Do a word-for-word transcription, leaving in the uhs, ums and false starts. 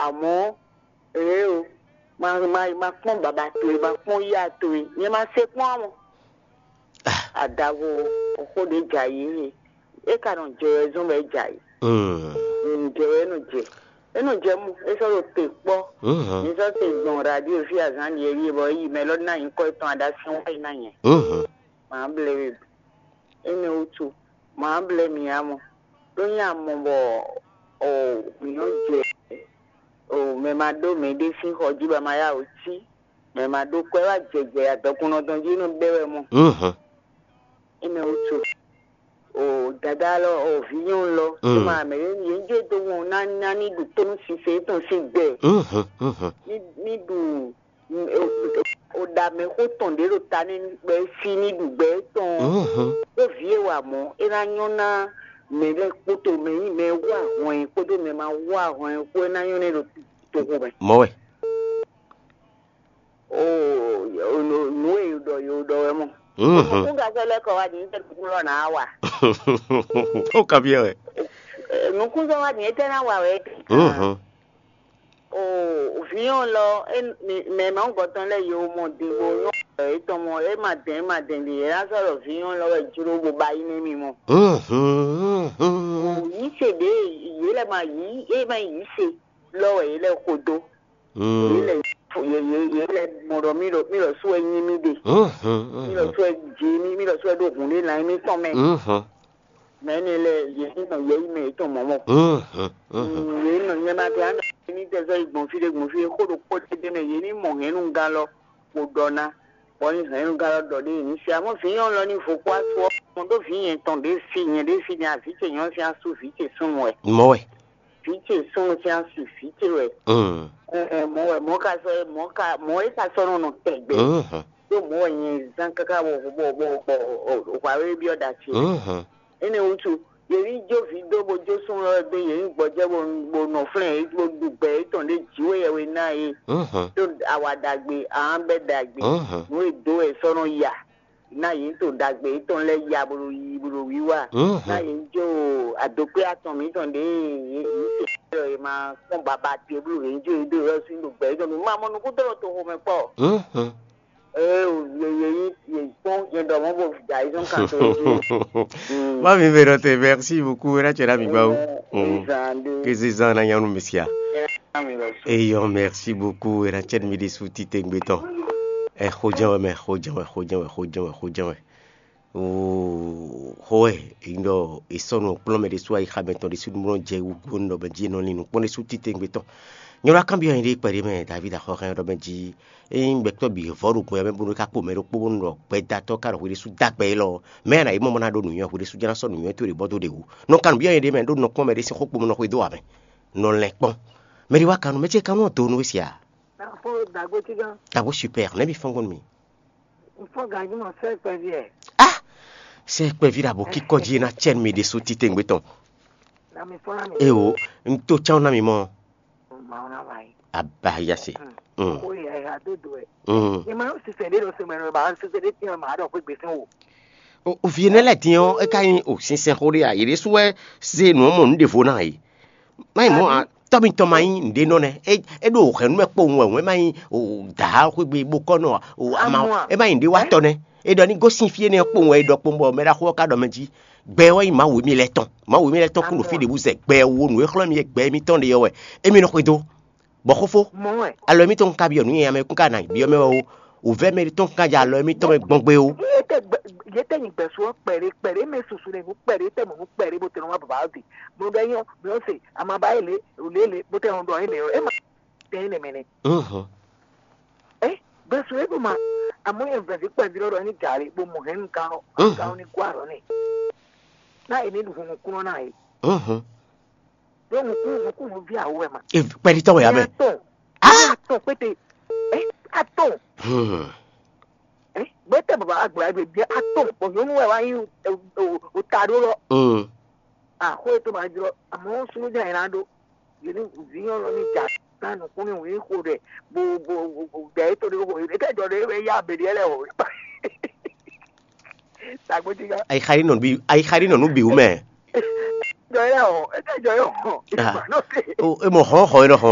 Amɔ̌, ee o, ma ma ma kpɔ́n baba towe, ma kpɔ́n yá towe, nyɛ ma se kpɔ́n ǎ mɔ. Adavo, xó ɖě jɛ ayǐ e, é ka nɔ jɛ wɛ zɔ́n bɔ é jɛ ayǐ. Nǔ jɛ wɛ é nɔ jɛ. É nɔ jɛ mɔ, é sɔ́ ɖo te kpɔ́. Mi sɔ́ te gbɔn radio fí azǎn ɖiɛɖiɛ bɔ é yi mɛ lɔ ná nyǐkɔ yětɔn aɖasín wá yi ná nyɛ. Mǎ blɛ we. Énɛ́ wútu, mǎ blɛ mǐ ǎ mɔ. Ɖó nyɛ a mɔ bɔ o mǐ nɔ jɛ o mɛ ma ɖó mɛɖé sín xɔ jí bɔ a ma yá wǔ cí, mɛ ma ɖó kwɛ́ wá jɛjɛ adɔkunnɔ tɔn jí nɔ bɛ́ wɛ mɔ. Énɛ́ wútu, o dadá lɔ, o vǐ nyɔ́nu lɔ, é ma mɛ yě yě jɛ dó wọn ná ná ní ɖu tónú sise tɔn sín gbɛ. Ní ní ɖu o ɖa mɛxó tɔn ɖě ɖo ta n'i bɔ é sí ní ɖu gbɛ étɔn. Ɖó vǐ e wa mɔ̌, é ná nyɔ́ ná mɛ lɛ́ɛ kpódó mɛ nyí mɛ e wú ahwan ɛ kpódó mɛ ma wú ahwan ɛ kpó, é ná nyɔ́ n'i ɖo toxo mɛ. Mɔ̌ wɛ. Oo, nǔ e yǒ ɖɔ yǒ ɖɔ wɛ mɔ. Nukúngbasɔ lɛ́ɛ kɔ wá din tɛ nukún lɔ nǎ wa. Ó ka byɔ́ wɛ. Nukúnzɔ wá din etɛ ná wa wɛ. Oo, vǐ ɔ́ lɔ, mɛ mawugɔtɔn lɛ́ɛ yǒ mɔ din bó nyɔ́ wɛ étɔn mɔ, é ma dɛn é ma dɛn ɖe, é ná sɔ́ ɖɔ vǐ ɔ́ lɔ wɛ jló bó ba yí nɛ́ mi mɔ. Yǐ se ɖě yě lɛ́ ma yǐ, é ma yǐ se lɔ wɛ yě lɛ́ xo dó. Yě lɛ́ yě yě yě lɛ́ mɔ ɖɔ mí ɖɔ mí ɖɔ sú wɛ nyí mí ɖe. Mí ɖɔ sú wɛ jǐ mí, mí ɖɔ sú wɛ ɖó hǔn ɖé ná nyí mítɔn mɛ. Mɛ énɛ́ lɛ́ɛ yě ní nɔ yɛ yí mɛ yětɔn mɔ̌ mɔ. Yě ní nɔ nyɛ ma tɛ ánda ní tɛ zɔ́ yi gbɔn fí ɖé gbɔn fí ɖé xó ɖokpó ɖé ɖé mɛ yě ní mɔ hɛ̌nnugán lɔ kpo ɖɔ ná, bɔ ní hɛ̌nnugán lɔ ɖɔ ɖé yě ní se. Amɔ̌ vǐ nyɔ́nu lɔ ní vo kpó asú ɔ́, mɔ ɖó vǐ nyɛ tɔn ɖě fi nyɛ ɖě fi ní avǐ ce nyɔ̌nu sín asú vǐ ce súnnu wɛ. Mɔ̌ wɛ. Vǐ ce súnnu sín asú vǐ ce wɛ. Mɔ̌ wɛ mɔ̌ ka sɔ́ mɔ̌ ka mɔ̌ é ka sɔ́ nɔ nɔ tɛgbɛ. Ɖó mɔ̌ wɛ nyɛ zán káká bɔ bɔ bɔ bɔ hwǎ wé byɔ́ ɖa ce. Énɛ́ wútu, yě ní jó vǐ dó bó jó súnnu ɔ́ dó yě ní gbɔjɛ́ bó bó nɔ flɛ́n yě bó ɖu gbɛ yětɔn ɖé jǐ wé yɛwe ná yě. Ɖó awa ɖagbe, ahán bɛ́ ɖagbe, nǔ e dǒ wɛ è sɔ́ nɔ ya. Ná yě to ɖagbe yětɔn lɛ́ɛ ya bó ɖo yiyi bó ɖo wiwa. Ná yě jó adokpé atɔn mǐtɔn ɖě yě yě se ɖɔ yě ma kpɔ́n baba te bló yě jó yě dó yě lɔ sín ɖo gbɛ yětɔn mǐ ma mɔ nukúntɔ́ ɖo toxo mɛ kpɔ́. Ee, yě yě yí yě kpɔ́n yě ɖɔ mɔ̌ bó da yě zɔ́n kan tó yě. Má mi bɛ ɖɔ te, merci beaucoup, é ná cɛ ná mi gbá wú. Kézezán ná nyanu mi sia. Eyɔ, merci beaucoup, é ná cɛ mi ɖésú títɛngbé tɔn. Ɛ xojɛn wɛ mɛ, xojɛn wɛ, xojɛn wɛ, xojɛn wɛ, xojɛn wɛ. Oo, xó wɛ, è nyí ɖɔ è sɔ́ nǔ kplɔ́n mɛ ɖésú ayixa mɛtɔn ɖésú nú nɔ jɛ wú gbónú ɖɔ mɛ jí è nɔ lin nǔ kpɔ́n ɖésú títɛngbé tɔn. Nyɔ̌nu wá kanbyɔ́ nyɛɖée kpɛɖé mɛ, Davídi axɔ́ hɛn ɖɔ mɛ jí, ényí gbɛtɔ́ bǐ vɔ́ ɖo gbɛ mɛ bónú é ka kpo mɛ ɖokpó bónú ɖɔ gbɛdatɔ́ ka ɖɔ hweɖésú dó agbɛ élɔ́ ɔ́, mɛ ná yi mɔ mɔ ná ɖó nǔnywɛ́, hweɖésú jɛ́n ná sɔ́ nǔnywɛ́ towe ɖě bɔ dó ɖě wú. Nɔ kanbyɔ́ nyɛɖée mɛ ɖó nɔ kpɔ́n mɛɖé sín xó kpo mɛ nɔ xwedó ǎ mɛ. Nɔ lɛn kpɔ́n. Mɛ ɖé wá kanú, mɛ ce kanú ɔ́ do nú we sia? Dǎgbó tígán. Dǎgbó super, nɛ̌ mi fɔ́n gbɔn nú mi? N fɔ́n ganjí mɔ sɛ́ kpɛví ɛ. Ah! Sɛ́ kpɛví ɖo abǒ kíkɔ jí é ná cɛ nú mi ɖésú títɛngbé tɔn. Na mi fɔ́n ná mi. Eo, un to cán ná mi mɔ. Màá ná wá yìí. Abáyá se. Ó yẹ ẹ adó do ẹ. Ní ma yóò ṣiṣẹ́ dé lọ sí mẹ́rin bá ṣiṣẹ́ dé tiẹ̀ máa dọ̀ pé gbèsè wò. O vi énɛ́ lɛ́ɛ din ɔ́, é ka nyí o sinsɛnxó ɖé a? Yě ɖésú wɛ zé nǔ ɔ́ mɔ nǔ ɖěvo ná e. Má nyí mɔ̌ ǎ, tɔ́ mitɔn ma nyí nǔɖé nɔ nɛ́. É é ɖo hɛ̌nnu mɛ kpowun wɛ hǔn, é má nyí o dǎ xwé gbe bó kɔ nɔ o ama ɔ́, é má nyí nǔɖé wa tɔ nɛ́. É ɖɔ ní gosín fí énɛ́ ɔ́ kpowun wɛ é ɖɔ kpowun bɔ mɛ ɖaxó ɔ́ ka ɖɔ mɛ jí. Gbɛ ɔ́ nyí Mawu émí lɛ́ɛ tɔn. Mawu émí lɛ́ɛ tɔn kún ɖo fí ɖě wú zɛ gbɛ wo nǔ e xlɔ́ mì é gbɛ émítɔn ɖe ɔ́ wɛ. Émí nɔ xwedó. Bɔ xófó, alɔ émítɔn ka byɔ́ nǔ nyanya mɛ kún ka ná byɔ́ mɛ wɛ ó. Wǔvɛ́ mɛ tɔn ka jɛ alɔ émítɔn mɛ gbɔn gbé ó. Yě tɛ gbɛ- yě tɛ nyi gbɛ̀sú ɔ́ kpɛɖé kpɛɖé mɛ susu ɖe nǔ kpɛɖé tɛ mɔ nǔ kpɛɖé bó tɛ nɔ wá bàbá ɔ́ de. Mo ɖɔ nyɔ mi ɔ́ se amaba yé lě lě lě bó tɛ nɔ ɖɔ yé lě ɔ́ é ma tɛ yé nɛ mɛ nɛ. Ɛ gbɛ̀sú é ɖo ma àmọ́ yẹn vɛ̀ví kpɛví lɔ ɖɔ ní gǎ lé bó mɔ hɛn nú gán lɔ gán lɔ ní kó àlọ́ nɛ. Ná yě ní ɖu hun nukúnnɔ ná yě. Ɖó nukún nukún nú ví àwọ̀ ẹ̀ ma. Kpɛɖitɔ́ wɛ yá mɛ. Atɔn. Atɔn pété. Ɛ atɔn. Gbɛtɛ baba agbla gbe bia atɔn bɔ nyɔnu wɛ wa yi o ta ɖo lɔ. Axɔ etɔn ma jlɔ amɔ sunu jɛ yina ɖo yini vinyɔn lɔ ni ja na nukun ni wi xo ɖɛ bo bo bo ɖɛ eto ɖe xo ɖe kɛ jɔ ɖe ya be ɖe lɛ o. Tagbo ti ka. Ayi xari nɔ bi ayi xari nɔ nu bi wu mɛ. Jɔ yɛ o ete jɔ yɛ o. E mɔ xɔ xɔ yɛ nɔ xɔ.